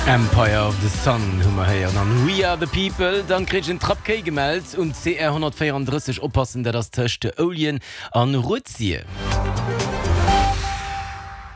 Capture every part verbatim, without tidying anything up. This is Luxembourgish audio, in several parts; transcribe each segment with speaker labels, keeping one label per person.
Speaker 1: Empire of the Sun hu mer héieren an We Are the People. Dann kritt ech en Trapp Kéi gemellt um C R honnertvéierandrësseg. Oppassen, dat ass tëscht Ouljen an Rued-Sir.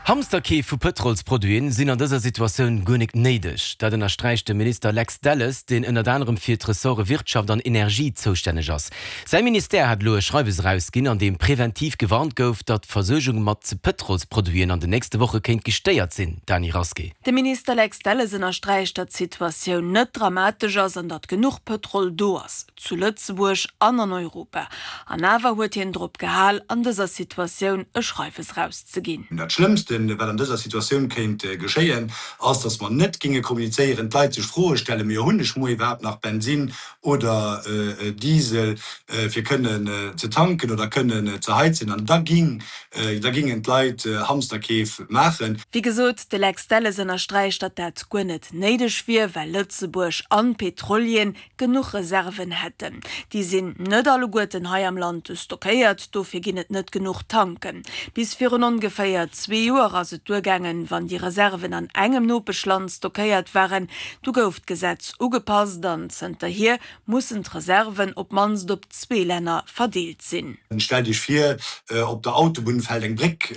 Speaker 1: Hamsterkeef vu Pëtrolsproduiten sinn an dëser Situatioun guer nik néideg. Dat ënnersträicht de Minister Lex Delles, deen ënnert anerem fir d'Ressorte Wirtschaft an Energie zoustänneg ass. Säi Ministère hat elo e Schreiwes erausginn, an deem preventiv gewarnt gouf, datt d'Versuergung mat Pëtrolsproduiten an den nächste Woche kéint gestéiert sinn. Dany Rasqué.
Speaker 2: De Minister Lex Delles ënnersträicht, datt d'Situatioun net dramatesch ass an datt genuch Pëtrol do ass, zu Lëtzebuerg an an Europa. An awer huet hien drop gehal, an dëser Situatioun e Schreiwes erauszeginn.
Speaker 3: Dat Schlëmmsten, wat an dëser Situatioun kéint geschéien, ass, datt mer net géinge kommunizéieren, d'Leit sech Froe stellen, Mee hunn ech muer iwwerhaapt nach Bensinn oder Diesel, fir kënnen ze tanken oder kënnen ze heizen? An da ging, da gingen d'Leit Hamsterkeef maachen.
Speaker 2: Wéi gesot, de Lex Delles ënnersträicht, datt dat guer net néideg wier, well Lëtzebuerg an d'Petrolieren genuch Reserven hätten. Déi sinn net alleguerten hei am Land stockéiert, dofir ginn et net genuch Tanken. Bis virun ongeféier zwee Joer ass et duergaangen, wann déi Reserven an engem Nopeschland stockéiert waren. Du gouf d'Gesetz ugepasst an zënterhier mussen d'Reserven op d'mannst op zwee Länner verdeelt sinn.
Speaker 3: Stellt Iech vir, op der Autobunn fält eng Bréck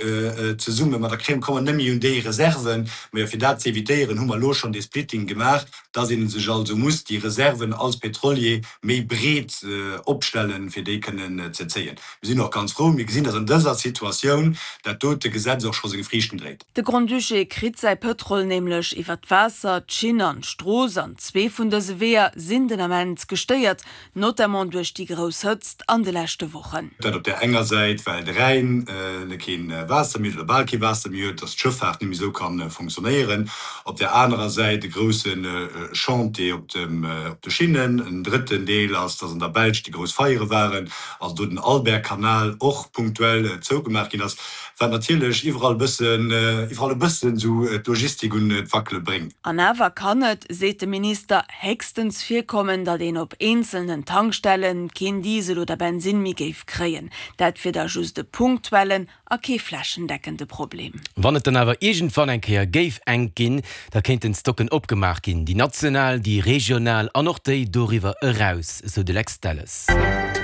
Speaker 3: zesummen, ma da komme mer net méi un déi Reserven. Mä fir dat ze evitéieren, hu mer elo schonn dee Splitting gemaach, dass ee sech also muss déi Reserven als Pétrolier méi breet opstellen, fir déi kënnen ze zéien. Mir sinn och ganz frou, mir gesinn, dass an dëser Situatioun dat dote Gesetz och scho seng Friichten dréit.
Speaker 2: De Grand-Duché kritt säi Pëtrol nämlech iwwer d'Waasser, d'Schinn an d'Strooss an zwee vun dëse Weeër sinn den Ament gestéiert, notamment duerch déi grouss Hëtzt an de leschte Wochen.
Speaker 3: Dat op där enger Säit, well de Rhäin kee Waasser méi huet oder bal kee Waasser méi huet, dass d'Schëffaart net méi esou ka funktionéieren. Op där anerer Säit e grousse Chantier op de Schinnen. En drëtten Deel ass, dass an der Belsch déi grouss Feiere waren, also do den Albertkanal och punktuell zougemaach ginn ass, wat natierlech iwwerall e bëssen, iwwerall e bëssen esou d'Logistik un d'Wackele bréngt.
Speaker 2: An awer kann et, seet de Minister, héchstens virkommen, datt een op eenzelnen Tankstelle keen Diesel oder Bensinn méi géif kréien. Dat wier da just e punktuellen a kee flächendeckende Problem.
Speaker 1: Wann et dann awer iergendwann eng Kéier géif enk ginn, da kéinten Stocken opgemaach ginn, déi national, déi regional an och déi doriwwer eraus, esou de Lex Delles.